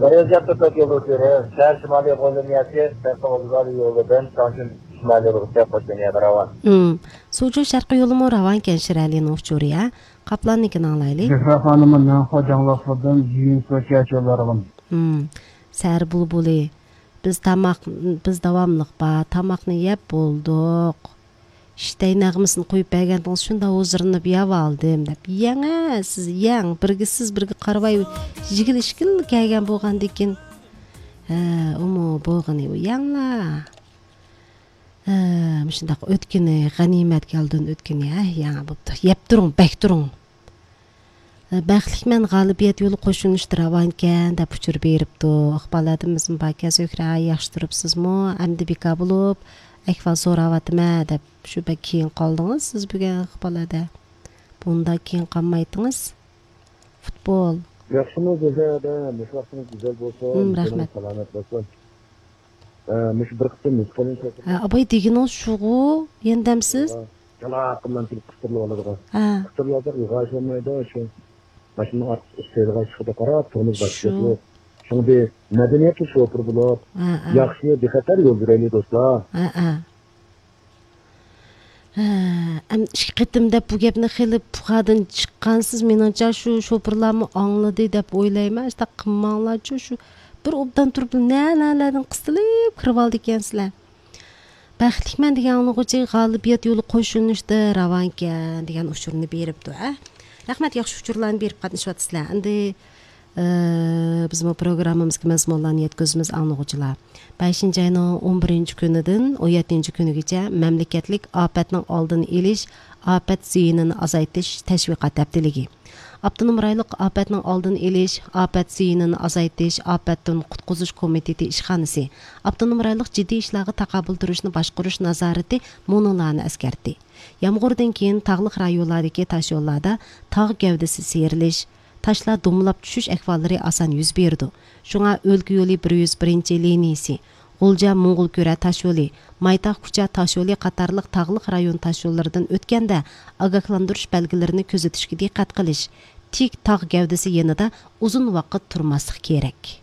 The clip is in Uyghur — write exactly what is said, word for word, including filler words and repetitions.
بىرىنچى تۆت يولدىن كۆرۈپ، شەھەر شىمالىي يولىنى يەتكەچ، شەرقىي ئوزۇلغالى يولىدىن چاڭجىن شىمالىي يولىغىچە قوشۇن يەردە راۋان. ھىم. سۇجۇ شەرقىي يولىمۇ راۋانكەن شىرئەلىنىڭ ئۇچۇرى، ھە؟ قاپلاننىڭكىنى ئاڭلايلى. زۆھرە خانىمى نەنخۇا جاڭلىقلىرىدىن يۈنسۇ چەچۈلەرغىن. ھىم. سەھەر بۇلبۇلى. بىز تاماق، بىز داۋاملىق بار، تاماقنى يەپ بولدۇق. ئىشتەي نەغمىسىنى قويۇپ بەرگەندىڭىز، شۇنداق ھۇزۇرلىنىپ يەۋالدىم، دەپ. يەڭ، ھە، سىز يەڭ. بىرگە سىز، بىرگە قارىۋاي، يېگىلى ئىچكىلى كەلگەن بولغاندىكىن. ھە، ئۇمۇ بولغىنى ئۇ يەڭلا. ھە، مۇشۇنداق ئۆتكىنى، غەنىيمەتكە ئالدىن ئۆتكىنى، ھە، يەڭ بوپتۇ. يەپ تۇرۇڭ، بەك تۇرۇڭ. بەختلىكمەن، غالىبىيەت يولى قوشۇلۇشتا راۋانكەن، دەپ ئۇچۇر بېرىپتۇ. ئىقبال ھەدىمىزمۇ باركەن، زۆھرە، ياخشى تۇرۇپسىزمۇ؟ ئەمدى بىكار بولۇپ، ئەھۋال سوراۋاتىمەن، دەپ شۇ بەك كېيىن قالدىڭىز سىز بۈگۈن، ئىقبال ھەدە. بۇنداق كېيىن قالمايتتىڭىز. فۇتبول. ياخشىمۇ، زۆھرە ھەدە؟ مۇشۇ ۋاقتىڭىز گۈزەل بولسۇن، ھىم، جېنىڭىز رەھمەت. سالامەت بولسۇن. ئە، مۇشۇ بىر قىسىم مۇسكۇلىنى ھە، ئاباي دېگىنىڭىز شۇغۇ، يەندەمسىز؟ جالاققىنلام كېلىپ قىستۇرۇلۇۋالىدىغان. ھە. قىستۇرۇۋالساق ئىلغاش بولمايدۇ، شۇ ماشىنىنىڭ ئارقىسى ئىشلەيدىغان ئىشقا قاراپ تۇرىمىز، باشقا شۇ. گەپ يوق. شۇڭا بىر مەدەنىيەتلىك شوپۇر بولۇپ، ھە، ھە. ياخشى بىخەتەر يول يۈرەيلى، دوستلار. ھە، ھە. ھە، ئەم، ئىككى قېتىم دەپ بۇ گەپنى خېلى پۇخادىن چىققانسىز، مېنىڭچە شۇ شوپۇرلارمۇ ئاڭلىدى دەپ ئويلايمەن. شۇنداق قىلماڭلارچۇ، شۇ بىر ئوبدان تۇرۇپ نە-نەلەردىن قىستىلىپ كىرىۋالىدىكەنسىلەر. بەختلىكمەن دېگەن ئاڭلىغۇچى غالىبىيەت يولى قوشۇلۇشتا راۋانكەن دېگەن ئۇچۇرنى بېرىپتۇ، ھە. رەھمەت، ياخشى ئۇچۇرلارنى بېرىپ قاتنىشىۋاتىسىلەر. ئەمدى، ئى، بىزمۇ پروگراممىمىزغا مەزمۇنلارنى يەتكۈزىمىز ئاڭلىغۇچىلار. بەشىنچى ئاينىڭ ئون بىرىنچى كۈنىدىن ئون يەتتىنچى كۈنىگىچە مەملىكەتلىك ئاپەتنىڭ ئالدىنى ئېلىش، ئاپەت زىيىنىنى ئازايتىش تەشۋىقات ھەپتىلىكى. ئاپتونوم رايونلۇق ئاپەتنىڭ ئالدىنى ئېلىش، ئاپەت زىيىنىنى ئازايتىش، ئاپەتتىن قۇتقۇزۇش كومىتېتى ئىشخانىسى ئاپتونوم رايونلۇق جىددىي ئىشلارغا تاقابىل تۇرۇشنى باشقۇرۇش نازارىتى مۇنۇلارنى ئەسكەرتتى. يامغۇردىن كېيىن تاغلىق رايونلاردىكى تاشيوللاردا تاغ گەۋدىسى سىيرىلىش، تاشلار دومىلاپ چۈشۈش ئەھۋاللىرى ئاسان يۈز بېرىدۇ. شۇڭا ئۆلكە يولى بىر يۈز بىرىنچى لىنىيىسى، غۇلجا موڭغۇلكۈرە تاشيولى، مايتاغ كۇچا تاشيولى قاتارلىق تاغلىق رايون تاشيوللىرىدىن ئۆتكەندە ئاگاھلاندۇرۇش بەلگىلىرىنى كۆزىتىشكە دىققەت قىلىش، تىك تاغ گەۋدىسى يېنىدا ئۇزۇن ۋاقىت تۇرماسلىق كېرەك.